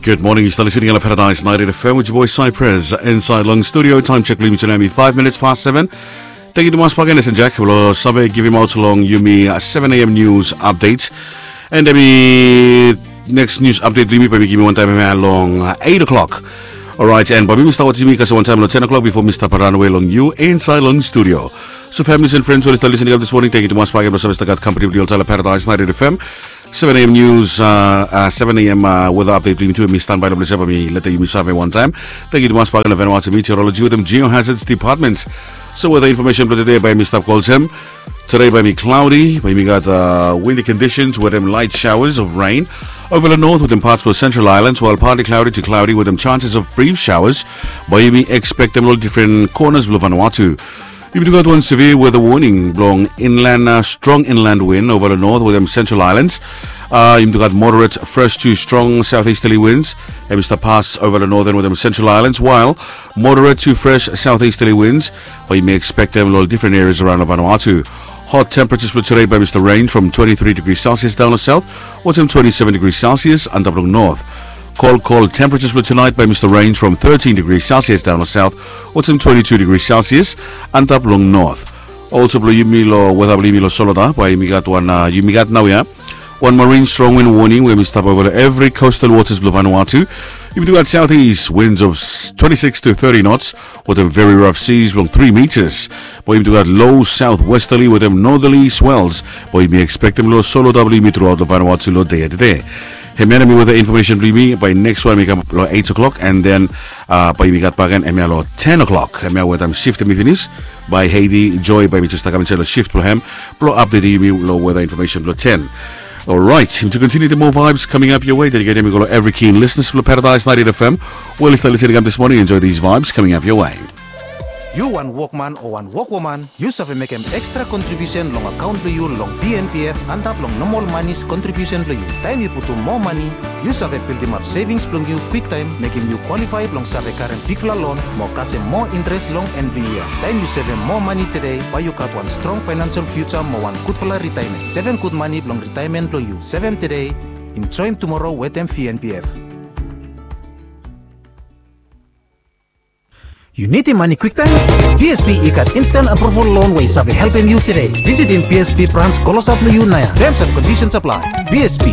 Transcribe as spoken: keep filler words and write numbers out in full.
Gud moning, yu stap listening long Paradise ninety-eight F M with your boy Cypress inside long studio. Time check blong yumi tu nao hemi five minutes past seven. Tangkiu tumas bakegen Esen Jack blong save givimaot long yumi seven a.m. news update. And hemi next news update blong yumi bae mi givim wantaem hemia long eight o'clock. Alright, and bae mi stap wetem yumi kasem wantaem long ten o'clock before mi stap ranwe long yu inside long studio. So families and friends we oli stap listening up this morning, tangkiu tumas bakegen blong save stap gat kampani blong yu oltaem long Paradise ninety-eight F M. Seven a.m. news, uh, uh, seven a.m. Uh, weather update blong yumi tu, mi standby long ples ia bae mi letem yumi save wantaem. Tangkiu tumas bakegen long Vanuatu Meteorology wetem Geohazards Department. So weather information blong tede bae mi stap go olsem. Tede bae mi cloudy, bae mi gat uh, windy conditions wetem light showers of rain over the north wetem parts of the central islands, while partly cloudy to cloudy wetem chances of brief showers. Bae mi expectem long different corners blong Vanuatu. Yumi tu gat wan severe weather warning blong inland, uh, strong inland wind over the north wetem central islands. Uh, yumi tu gat moderate fresh to strong southeasterly winds hemi stap pas over the northern wetem central islands, while moderate to fresh southeasterly winds bae yumi expectem long different areas around Vanuatu. Hot temperatures blong tede bae mi stap range from twenty-three degrees Celsius down long south wetem twenty-seven degrees Celsius antap long north. Cold, cold temperatures blong tonight bae mi stap range from thirteen degrees Celsius down long south wetem twenty-two degrees Celsius antap long north. Also blong yumi long weather blong yumi long Solota bae yumi gat wan, uh, yumi gat naoia wan marine strong wind warning we hemi stap over long evri coastal waters blong Vanuatu. Yumi tu gat southeast winds of twenty-six to thirty knots wetem very rough seas blong three meters. Bae yumi tu gat low southwesterly wetem northerly swells. Bae yumi expectem long Solota blong yumi truaot long Vanuatu long dei ia tede. Hemia nao hemi weather information blong yumi. Bae next wan hemi kam long eight o'clock, and then uh, bae yumi gat bakegen hemia long ten o'clock. Hemia wetem shift hemi finis. Bae Haiti Joy bae mi jes stap kam insaed long shift blong hem blong updatem yumi long weather information blong ten. Alright, yumi tu continue the more vibes coming up your way. Dedicatem i go long evri keen listeners blong Paradise ninety-eight F M we oli stap listening up this morning. Enjoy these vibes coming up your way. Yu wan wokman o wan wokwoman, yu save mekem extra contribution long account blong yu long V N P F antap long normal monies contribution blong yu. Taem yu putum moa mani, yu save bildimap savings blong yu kwiktaem, mekem yu qualify blong save karem bigfala loan mo kasem moa interest long en blong yu ia. Taem yu sevem moa mani tede, bae yu gat wan strong financial future mo wan gudfala retirement. Sevem gud mani blong retirement blong yu. Sevem tede, enjoem tumoro wetem V N P F. Yu nidim mani kwiktaem? B S B i gat instant approval loan we i save helpem yu tede. Visitim B S B branch klosap long yu naoia. Terms and conditions apply. B S B,